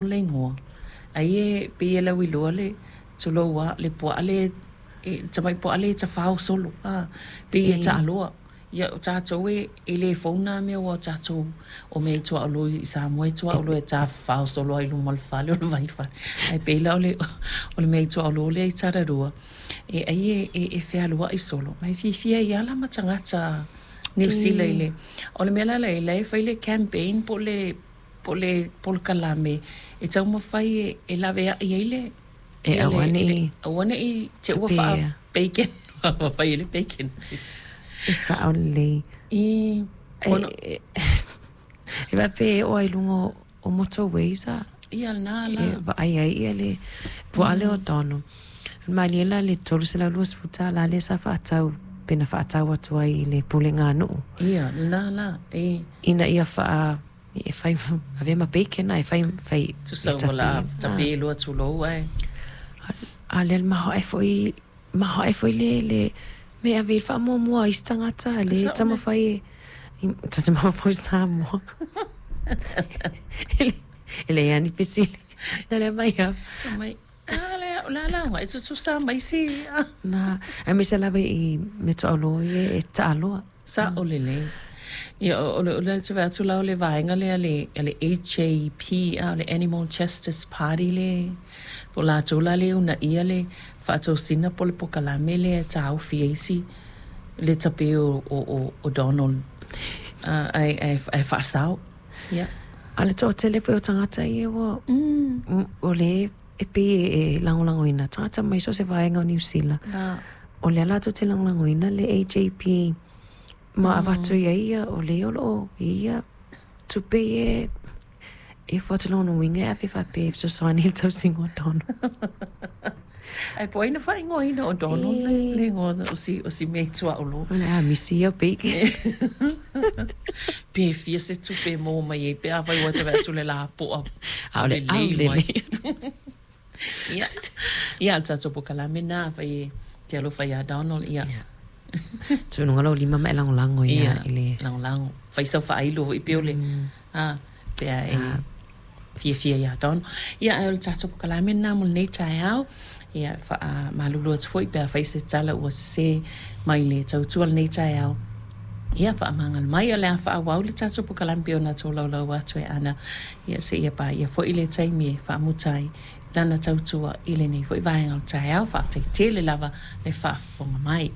Le igoa, ai e pei e lauiloa le, tulou lava, le puaa lea, le tamai puaa lea e tafao solo, a, pei e taaloa. Ia, o tatou e le fou na mea aua o tatou o mea i tuaolo i Samoa e tuaolo e tafafao solo lava i luma o le fale o le vaifale. Ae pei la o le mea i tuaolo lea i Tararua, e ai e fealuai solo ma e fiafia ai lava la ma tagata Niu Sila i le... O le mea la la i ai, la e fai le campaign po o le po o le polokalame e taumafai e laveai ai le E aua ne i aua ne i te ua faa bacon fai ai le bacon se isi. E sao lelei. I ona E faapea e oo lava i luga o motorways a Ia lena la. E vaai ai ia le puaa lea o Donald. Malie la le $320 lea sa faatau pe na faatau atu ai i le pulega a nuu. Ia lena la e. Ina ia faa E fai avea ma bacon e fai fai Tusa ua la tape loa tulou ae. A lea maoae foi maoae foi le le mea e ave i ai le faamuamua a isi tagata lea e taumafai e ta te mafaufau i Samoa. E leai lava ni fesili. Na lea mai lava. Mai a lea o le a la e tutusa ma isi. Na, aemaise lava i meaituaolo ia e taaloa. Sao lelei. Ia, o le, o le vaai atu la o le vaega lea a le, a le AJP, a o le Animal Justice Party le, po o latou la lea e uunaia le faatosina po o le polokalame lea e taofi ai si, le tape o, o, o Donald, ae, ae, ae faasao. Ia. A o le toatele foi o tagata ia ua, o lea e pei e lagolagoina tagata mai so o se vaega o Niu Sila. O lea latou te lagolagoina le AJP ma avatu i ai ia, o lea o lo o i ai ia tupe ia e fua atu lona uiga e ave faapea e fesoasoani i le tausiga o Donald. Ae po o ai na faaigoaina o Donald le igoa o si, o si mea i tuaolo. O le a misi ia o bacon. Pe fia se tupe e maua mai ai pe afai ua te vaai atu le lapoa Aole lelei mai. Ia, ia, o le tatou polokalame lena, afai e te alofa iā Donald, ia. Ia. Tuu i luga lou lima ma e lagolago ia i le. Ia, lagolago. Fai sau faailo foi pei o le, a, pe a e fiafia iā Donald. Ia, ae o le tatou polokalame lena mo lenei taeao. Ia, e faamalulu atu foi pe afai se tala ua sese mai le tautua i lenei taeao. Ia, faamagalo mai, o le a faaauau le tatou polokalame pei ona tolaulau atu e Ana, ia, seia paia foi le taimi e faamuta ai lana tautua i lenei foi vaega o le taeao. Faafetai tele lava le faafofoga mai.